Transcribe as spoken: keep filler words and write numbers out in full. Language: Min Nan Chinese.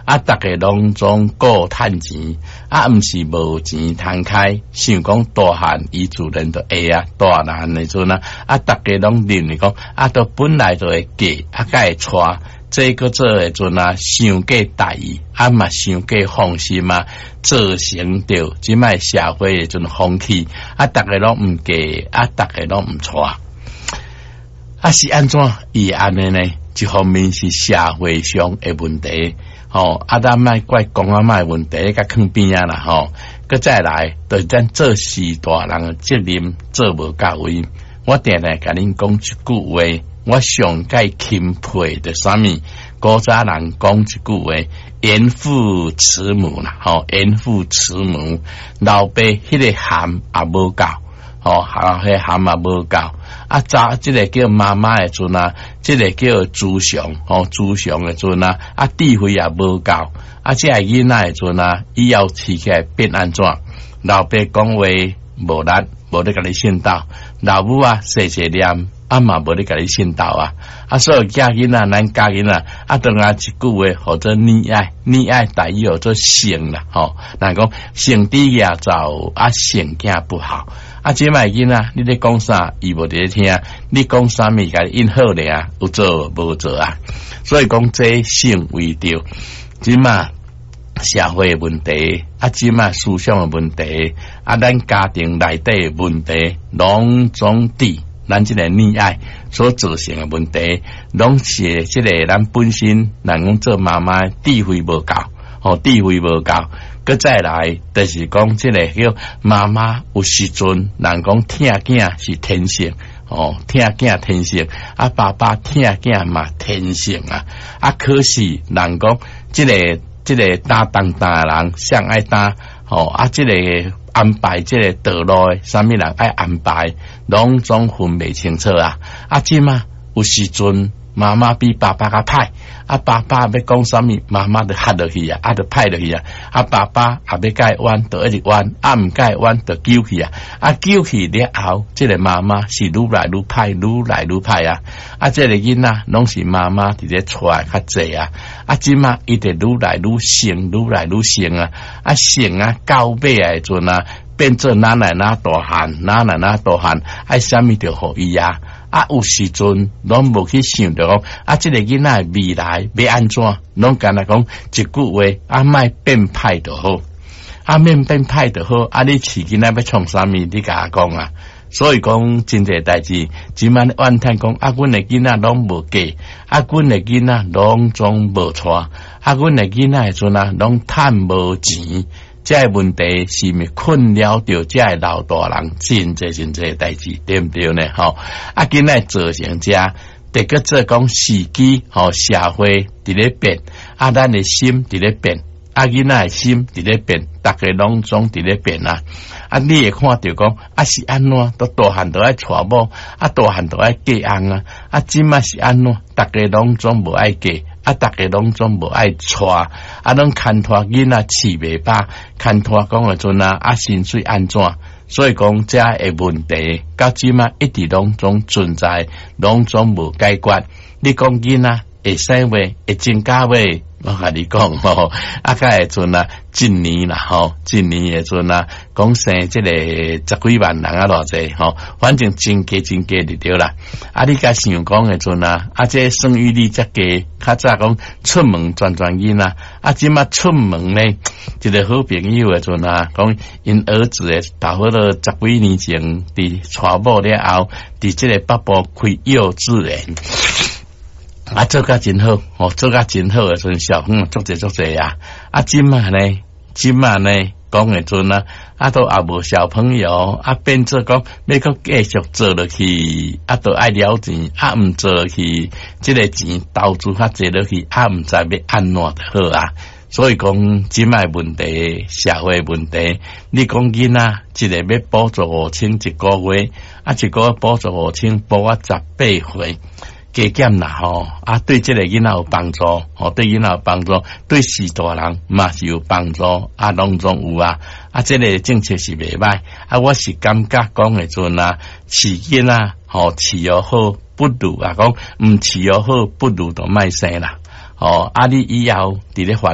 啊，逐家攏總顧趁錢，啊，毋是無錢通開，想講大漢伊自然就會啊，大漢的陣啊，啊，逐家攏認為講，啊，都本來就會嫁，啊，才會娶，這閣做的陣啊，傷過大意，啊嘛傷過放心啊，造成著這擺社會的陣風氣，啊，逐家攏毋嫁，啊，逐家攏毋娶，啊是按怎伊會按呢呢？一方面是社會上的問題，吼，啊，咱莫怪公阿嬤的問題，共囥邊仔啦，吼，閣再來，就是咱做序大人的責任做無到位。我定定共恁講一句話，我上蓋欽佩的啥物？古早人講一句話，嚴父慈母啦，吼，嚴父慈母，老爸彼个涵也無夠，吼，啊，彼涵也無夠。啊，查這个叫媽媽的陣啊，這个叫慈祥，吼，慈祥的陣啊，啊，智慧也無夠，啊，這个囡仔的陣啊，以後飼起來變按怎？老爸講話無力，無咧共你訓導；老母啊，細細念，啊嘛無咧共你訓導啊。啊，所以囝囡仔，咱教囡仔，啊，當下一句話，號做溺愛，溺愛台語號做寵啦，吼，人講聖豬夯灶，啊，聖囝不好。啊，這擺囡仔，你咧講啥，伊無佇咧聽；你講啥物，共你應好爾，有做無做啊？所以講這成為著這擺社會的問題，啊，這擺思想的問題，啊，咱家庭內底的問題，攏總佇咱這個溺愛所造成的問題，攏是這個咱本身，人講做媽媽智慧無夠，吼，智慧無夠。閣再來，就是講這個叫媽媽有時陣，人講疼囝是天性，哦，疼囝天性，啊，爸爸疼囝嘛天性啊，啊，可是人講這個這個擔重擔的人，誰愛擔，吼，啊，這個安排這個道路的，啥物人愛安排，攏總分袂清楚啊，啊，這馬有時陣媽媽比爸爸較歹，啊，爸爸欲講啥物，媽媽就喝落去啊，啊，就歹落去啊，啊，爸爸也欲共伊冤，就一直冤，啊，毋共伊冤，就糾去啊，啊，糾去了後，這個媽媽是愈來愈歹，愈來愈歹啊，啊，這個囡仔攏是媽媽佇咧帶較濟啊，啊，這馬伊就愈來愈性，愈來愈性啊，啊，性啊，到尾的陣啊，變做哪來哪大漢，哪來哪大漢，愛啥物就予伊啊。啊，有時陣攏無去想著講，啊，這個囡仔未來欲按怎，攏干焦講一句話，啊，莫變歹就好，啊，免變歹就好，啊，你飼囡仔欲創啥物，你共我講啊。所以講真濟代誌，這擺怨嘆講，啊，阮的囡仔攏無嫁，啊，阮的囡仔攏總無娶，啊，阮的囡仔的陣啊，攏趁無錢。這個問題是毋是困擾著這个老大人真濟真濟代誌，對毋對呢？吼，啊，今仔造成這，得閣做講時機，吼，社會佇咧變，啊，咱的心佇咧變，啊，囡仔的心佇咧變，逐家攏總佇咧變啊！啊，你會看著講，啊是按怎，都大漢都愛娶某，啊大漢都愛嫁翁啊，啊這馬是按怎，逐家攏總無愛嫁。啊！逐家攏總無愛娶，啊，攏牽拖囡仔飼袂飽，牽拖講的陣啊，啊，薪水按怎？所以講，這个問題到這馬一直攏總存在，攏總無解決。你講囡仔會生未？會增加未？我共你講吼，啊，較會陣啊，一年啦吼，一年的陣啊，講生這個十幾萬人啊，偌濟吼，反正真低真低就對啦。啊，你共想講的陣啊，啊，這生育率遮低，較早講出門全全囡仔，啊，這馬出門呢，一個好朋友的陣啊，講𪜶兒子的，差不多十幾年前，佇娶某了後，佇這個北部開幼稚園。啊，做甲真好，哦，做甲真好的陣，小朋友足濟足濟啊！啊，這馬呢，這馬呢，講的陣啊，啊，都也無小朋友，啊，變做講欲閣繼續做落去，啊，都愛了錢，啊，毋做落去，這個錢投資較濟落去，啊，毋知欲按怎就好啊！所以講，這擺問題，社會問題，你講囡仔，一個欲補助五千一個月，啊，一個月補助五千，補啊十八歲。加減啦吼，啊，對這個囡仔有幫助，吼，對囡仔有幫助，對序大人嘛是有幫助，啊，攏總有啊，啊，這個政策是袂䆀，啊，我是感覺講的陣啊，飼囡仔吼飼予好，不如啊講毋飼予好，不如就莫生啦，吼，啊，你以後佇咧煩。